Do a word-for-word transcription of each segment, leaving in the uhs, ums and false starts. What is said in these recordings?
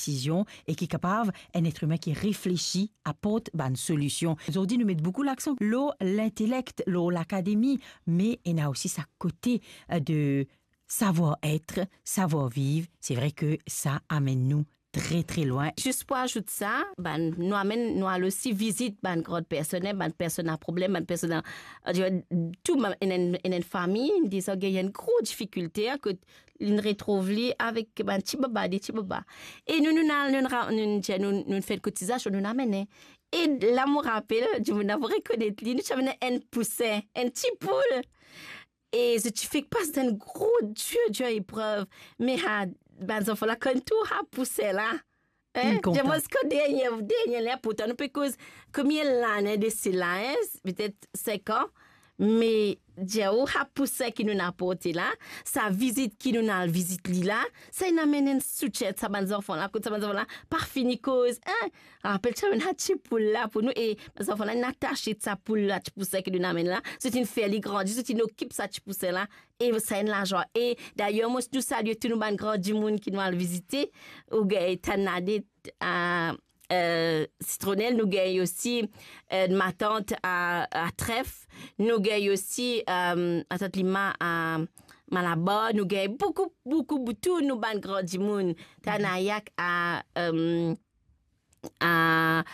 desizion e ki kapav enn letrimin ki reflesi aport bann solision. Zordi nou met boukou laksan lor lintelek, lor lakademi, me ena osi sa kote, eh, de savoir-être, savoir-vivre. Se vre ke sa amenn nou tre, tre lwin. Zis pou azout sa, bann, nou amenn, nou al osi vizit bann gran personn, bann personn a problem, bann personn a, eh, tou bann, ena enn, ena enn fami, deza gagn enn gro difikilte, kot li retrouv li avek bann ti baba, de ti baba. E nou, nou, nou, nou, nou, nou, nou, nou fer kotizasion, nou amenn. E la, mo rapel, dimoun la pou rekonet li, nou ti amenn enn pousin, enn ti poul. E zot ti fek pas enn gro dir, dir eprev. Me ha, bann zanfan la konn tou ha pousin la. Hein? Inn kontan. Zis kan dernie, dernie la, pourtan nou pe koz konbien lane de sela, hein? Petet sink an. Me dir ou, ha pousin ki nou aport la, sa vizit ki nou al vizit li la, sa inn amenn enn soutien sa bann zanfan la, kot sa bann zanfan la pa fini koz, hein? Rapel ti amenn sa ti poul la pou nou, e bann zanfan la inn atase sa poul la, ti pousin ki nou amenn la, zot inn fer li grandi, zot inn okip sa ti pousin la, e sa enn lazwa. E dayer, mo, nou salie tou nou bann gran dimoun ki nou al vizite, ou gagn Tanade, a, eh, Sitronel, nou gagn osi, eh, matant a, a Tref, nou gagn osi, eh, matant Lima a Malabar, nou gagn boukou, boukou, boukou, tou nou bann gran dimoun, Tanayak a, eh, a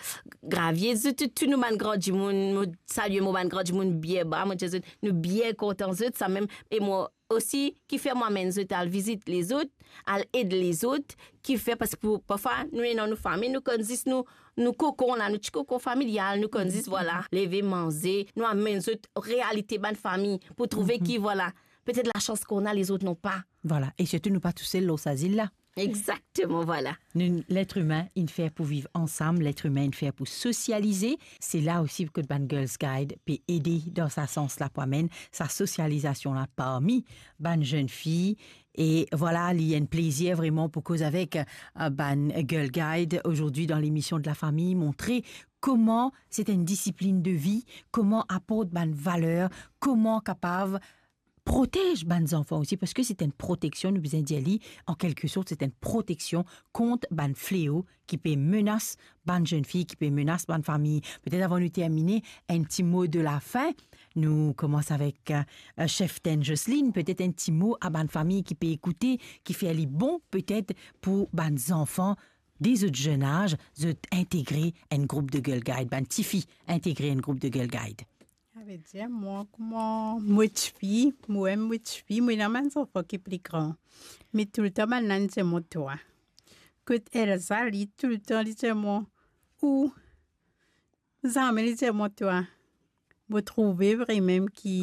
Gravie, zot tou, tou nou bann gran dimoun, mo salie mo bann gran dimoun bien ba, mo dir zot, nou bien kontan zot, samem, e mo osi, kifer mo amenn zot al vizit lezot, al ed lezot, kifer, parski pou, parfwa, nou ena nou fami, nou konn zis nou, nou kokon la, nou ti kokon familial, nou konn zis, vwala, leve, manze, nou amenn zot realite bann fami, pou trouve ki, vwala, petet lasans ki nou ena, lezot napa. Vwala, e sirtou nou pa tousel lor sa zil la. Exakteman, vwala. Nou, letrimin inn fer pou viv ansam, letrimin inn fer pou sosialize. Se la osi kot bann Girls Guide pe ede dan sa sans la pou amenn sa sosializasion la parmi bann zenn fi. E vwala, li enn plezir vreman pou koz avek, eh, bann Girl Guide ozordi dan lemision de la fami, montre kouma se enn disiplin de vi, kouma aport bann valer, kouma kapav protez bann zanfan osi, parski se enn proteksion, nou bizin dir li, an kelke sort, se enn proteksion kont bann fleo ki pe menas bann zenn fi, ki pe menas bann fami. Petet avan nou termine, enn ti mo de lafin. Nou koumans avek, eh, cheftenn Jocelyne, petet enn ti mo a bann fami ki pe ekoute, kifer li bon petet pou bann zanfan de zot zenn az, zot integre enn group de Girl Guide, bann tifi integre enn group de Girl Guide. Savedir, mwa, kouma mo tifi, mwa, mo tifi, mo ena bann zanfan ki pli gran. Me toultan bann la inn dir mwa twa. Kot Elsa, li toultan li dir mwa, ou, zame li dir mwa twa. Mo trouve vremem ki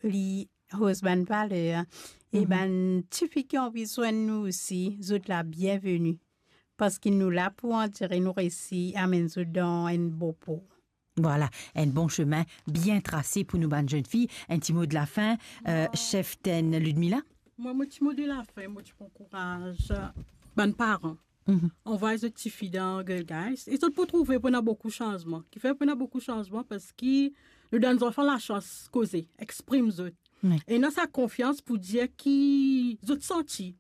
li roz bann valer. E bann tifi ki anvi zwenn nou osi, zot la bienveni. Parski nou la pou ansire nou resi amenn zot dan enn bon por. Vwala, enn bon semin bien trase pou nou bann zenn fi. Enn ti mo de lafin, eh, cheftenn Ludmila? Mwa, mo ti mo de lafin, mo ti pou ankouraz bann paran. Anvway zot tifi dan Girl Guides. E zot pou trouve pou ena boukou sanzman. Kifer pou ena boukou sanzman? Parski nou donn zanfan lasans koze, exprim zot. Wi. E ena sa konfians pou dir ki zot santi.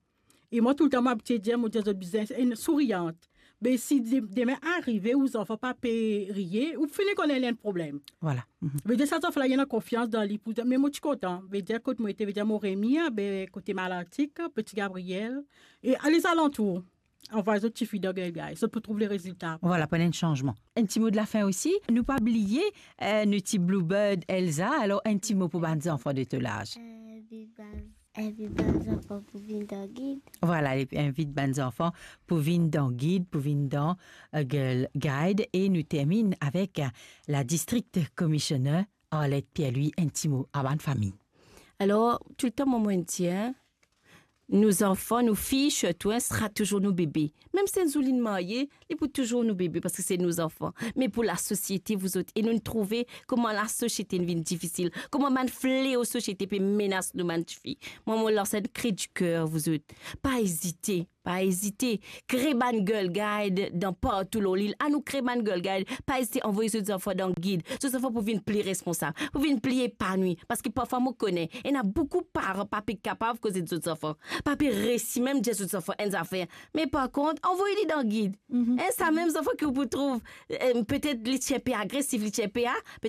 E mwa, toultan mo abitie dir, mo dir zot bizin enn souriant. Be si de-, demin arive ou zanfan pa pe riye, ou fini konn ena enn problem. Vwala. Vedir sa zanfan la, li ena konfians dan li pou dir, me mo ti kontan. Vedir kot mo ete, vedir Moremi, be kote Malantik, Peti Gabriel, e lezalantour. Anvway zot tifi dan Girl Guides, zot pou trouv lerezilta. Vwala, pou ena enn sanzman. Enn ti mo de lafin osi. Nou pa bliye, eh, nou ti bluebird Elsa. Alor, enn ti mo pou bann zanfan de to laz. Eh, viv bann, eh, viv bann zanfan pou vinn dan gid. Vwala, li invit bann zanfan pou vinn dan gid, pou vinn dan, eh, Girl Guide. E nou terminn avek, eh, la district commissioner Arlette Pierre-Louis, enn ti mo a bann fami. Alor, toultan mo, mo dir, nou zanfan, nou fi, sirtou, sera touzour nou bebe. Mem si enn zour linn marye, li pou touzour nou bebe, parski se nou zanfan. Me pou lasosiete, vouzot, e nou trouve kouma lasosiete vinn difisil, kouma bann fleo sosiete pe menas nou bann tifi. Mwa, mo lans enn kri di ker, vouzot. Pa ezite. pa ezite, kre bann Girl Guide dan partou lor lil. Anou kre bann Girl Guide, pa ezite anvoy zot zanfan dan gid. Zot zanfan pou vinn pli responsab, pou vinn pli epanwi. Paski parfwa mo kone, ena boukou paran pa pe kapav koze zot zanfan, pa pe resi mem dir zot zanfan enn zafer. Me par kont, anvoy li dan gid. Mm-hmm. Enn samem zanfan ki ou pou trouv, eh, petet li ti inpe agresif, li ti inpe a, petet